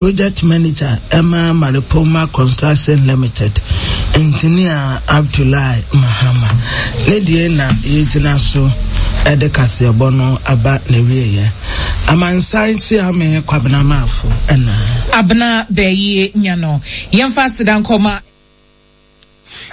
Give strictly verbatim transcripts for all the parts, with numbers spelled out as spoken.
Project Manager ɛma Maripoma Construction Limited, Engineer Abdullahi Mahama ne deɛ na yɛgyina so ɛde kaseɛbɔ no aba n'awieɛ. Amansan Kyeame Kwabena Maafo ɛna Abena bɛyie nya no, yɛmfa aseda nkɔma.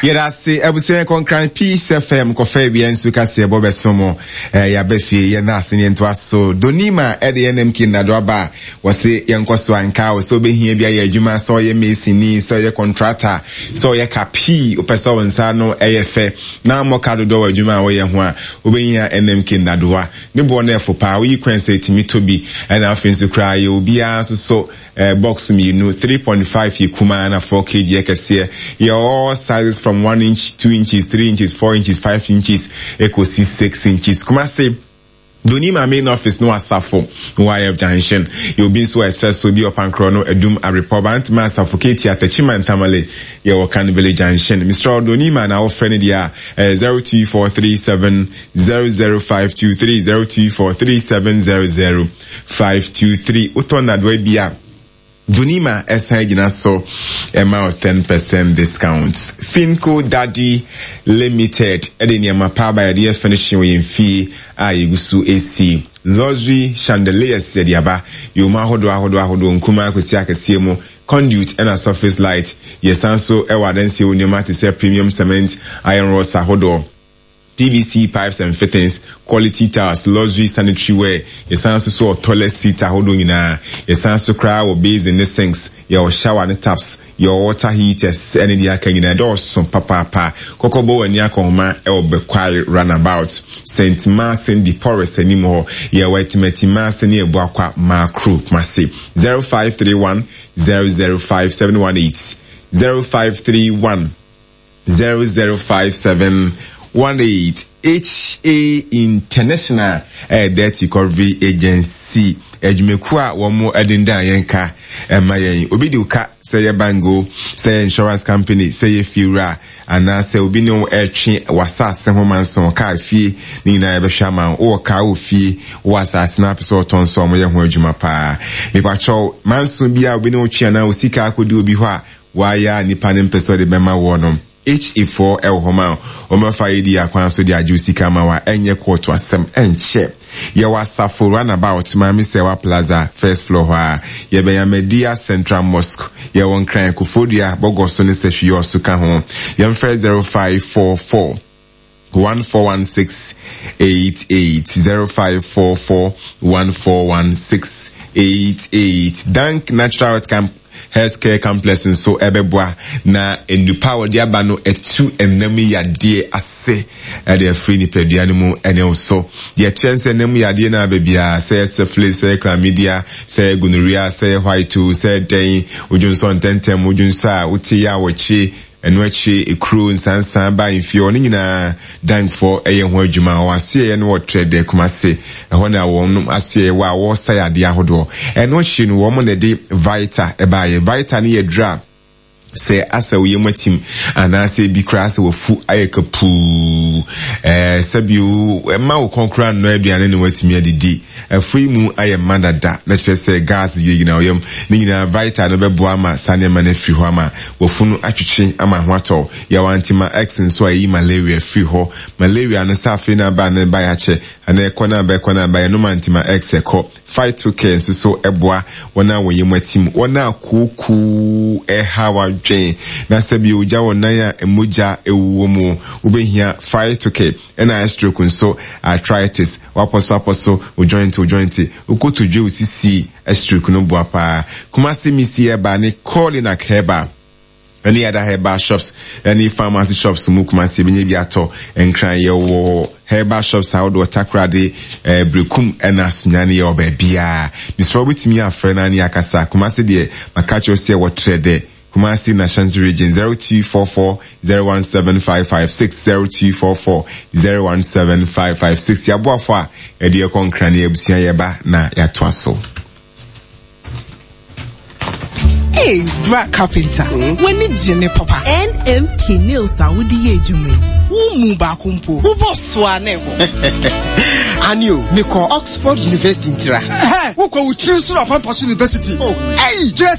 Yɛda ase, abusua. Kɔnkran Peace F M kɔfɛ awia nso kaseɛ bɔ bɛso mo. eh, yɛaba fie, yɛna ase ne yɛntoa so. Donima ɛde N M K nnado aba a wɔse yɛnkɔ so anka wo sɛ wobɛhia bi ayɛ adwuma, sɛ ɔyɛ masoni, sɛ ɔyɛ contractor, sɛ ɔyɛ kapii, wopɛ sɛ wo nsa no ɛyɛ fɛ na mmɔka dodoɔ wɔ adwuma a wɔyɛ ho a, wobɛhia N M K nnadoa. Ne boɔ no ɛfo paa. Woyi kwan sɛ ɛtumi tɔ bi. Ɛna afei nso koraa yɛ obiara nso so uh, box mmienu, three point five yɛ kumaa na four kilograms yɛ kɛseɛ. Yɛ all sizes from one inch, two inches, three inches, four inches, five inches ekosi six inches. Kumase, Donima main office no, Asafo Y F Junction. Yɛ obi nso ɛsrɛ so bi ɔpankorɔ no, Adum, Arepɔ, Bantama, Asafo, Keti, Atachima, Ntamale, yɛwɔ Kan Village Junction. Mister Donima na wofrɛ no deɛ a, zero two four three seven zero zero five two three, zero two four three seven zero zero five two three. Wotɔ nnadoa bi a, Donima ɛsan gyina so ɛma o ten percent discount. Finco Daddy Limited ɛde nneɛma pa aba yɛde yɛ finishing wɔ yɛn fie a yɛgu so esi. Luxury chandeliers yɛde aba, yɛwɔ ahodoɔ ahodoɔ ahodoɔ, nkumaa kɔsi akɛseɛ mu, conduit ɛna surface light. Yɛsan so ɛwɔ adansie wɔ nneɛma te sɛ premium cement, iron rods ahodoɔ, P V C pipes and fittings, quality tiles, luxury sanitary ware. Yɛsan so so wɔ toilet seat ahodoɔ nyinaa. Yɛsan so koraa wɔ basin ne sinks. Yɛwɔ shower ne taps. Yɛwɔ water heaters ɛne deɛ aka nyinaa. Ɛdɔɔso papaapa. Kɔkɔbɔ wɔ ani akɔnhoma ɛwɔ Bɛkwae Roundabout, Saint Martin de Porres anim hɔ. Yɛwɔ Atimatima ne Abuakwa Maakro, Kumase. zero five three one zero zero five seven one eight, zero five three one zero zero five seven one eight. H A International ɛyɛ Debt Recovery Agency, adwumakuo a wɔn dendan yɛn ka ɛma yɛn. Obi de ka, sɛ yɛ bank o, sɛ yɛ insurance company, sɛ yɛ fiewura, anaasɛ obi ne wo ɛtwe w'asase ho manso kaa fie ne nyinaa, yɛbɛhwɛ ama wo. Wowɔ kaa wɔ fie, wowɔ asase no apɛ sɛ ɔtɔn so a, wɔyɛ ho adwuma paa. Mipakyɛw, manso bi a obi ne wo twe anaa wo sika akɔdi obi hɔ a wayɛ a nipa ne mpɛ sɛ ɔde bɛma wɔ no, H A foɔ ɛwɔ hɔ ma wɔmɛfa yi di akwan so de agye wo sika ma wa. Ɛnyɛ kɔɔto asɛm, ɛnkyɛ. Yɛwɔ Asafo Roundabout, Maame Sɛwa Plaza, first floor hɔ a yɛbɛn Amadia Central Mosque. Yɛwɔ Nkran, Kofodua, Bɔgɔ so ne Sɛhwi ɔso ka ho. Yɛmfrɛ zero five four four one four one six eight eight, zero five four four one four one six eight eight. Dank Natural Health Camp Healthcare Complex nso ɛbɛboa na nnupa a wɔde aba no ɛtu ɛnam yadeɛ ase ɛde afiri nipadua no mu. Ɛne wo so deɛ kyerɛ sɛ ɛnam yadeɛ no aba biara, sɛ yɛ syphilis, sɛ yɛ chlamydia, sɛ yɛ gonorrhea, sɛ yɛ white, sɛ yɛ dɛn, wodwonsɔ ntɛntɛm, wodwonsɔ a wote yɛ a wɔkye, ɛno akyi ekuro nsansan ba mfie, ɔno nyinaa Dankfoɔ ɛyɛ ho adwuma. Wɔn asoɛyɛ no wɔ Trɛdɛ, Kumase. Ɛhɔ na wɔn asoɛyɛ wɔ a wɔresa yadeɛ ahodoɔ. Ɛno akyi no, wɔn na ɛde Vita ɛbaayɛ. Vita no yɛ dura sɛ asɛ wo yam atim anaasɛ ebi koraa sɛ wafu ayɛ kapuu, ɛɛ sɛbi ɛma wo kɔn koraa nnɔ aduane ne watumi adidi, afu yi mu ayɛ mma dada na kyerɛ sɛ gas gyinagyina wo yam ne nyinaa, Vita no bɛboa ama saa nneɛma no afiri hɔ ama wafu no atwitwe ama ho atɔ. Yɛwɔ Antima X nso a ɛyi malaria firi hɔ. Malaria no sɛ afei no aba na ɛba yɛakyɛ anaa ɛkɔ no aba, ɛkɔ no aba, yɛnom Antima X ɛkɔ. Phytocare nso so ɛboa wɔn a wɔyɛ mu atim, wɔn a kookoo ɛha wadwen na sɛbi ogya wɔn nan a mogya ɛwɔ mu, wobɛhia Phytocare. Ɛna stroke nso, arthritis, wapɔso apɔso, wo joint wo joint, wokotodwe, wo sisi, stroke no boa paa. Kumase Misi Herbal ne Colinac Herbal ɛne other herbal shops ɛne pharmacy shops mu. Kumase ebi nye bi atɔ. Nkran, yɛwɔ herbal shops ahodoɔ, Takoradi, ɛɛ Brekum ɛna Sunyani, yɛwɔ baabiara. Bisɔrɔ wobɛtumi afrɛ na ne akasa. Kumase deɛ, maka kyerɛ sɛ wɔtrɛ dɛ Kumasi na Ashanti Region, zero two four four zero one seven five five six, zero two four four zero one seven five five six. Yaboafo a ɛde ɛkɔ Nkran ne abusua, yɛba na yɛatoa so. Hey, bra carpenter. Mm? W'ani gye ne papa. N M K nails a wode yɛ adwuma yi, wo mu baako mpo. Wobɔ so a na ɛbɔ. Ani o, mekɔ Oxford University ntira. Wokɔ wo tiri so na Pampa so University. Oh, Ɛyi, kyerɛ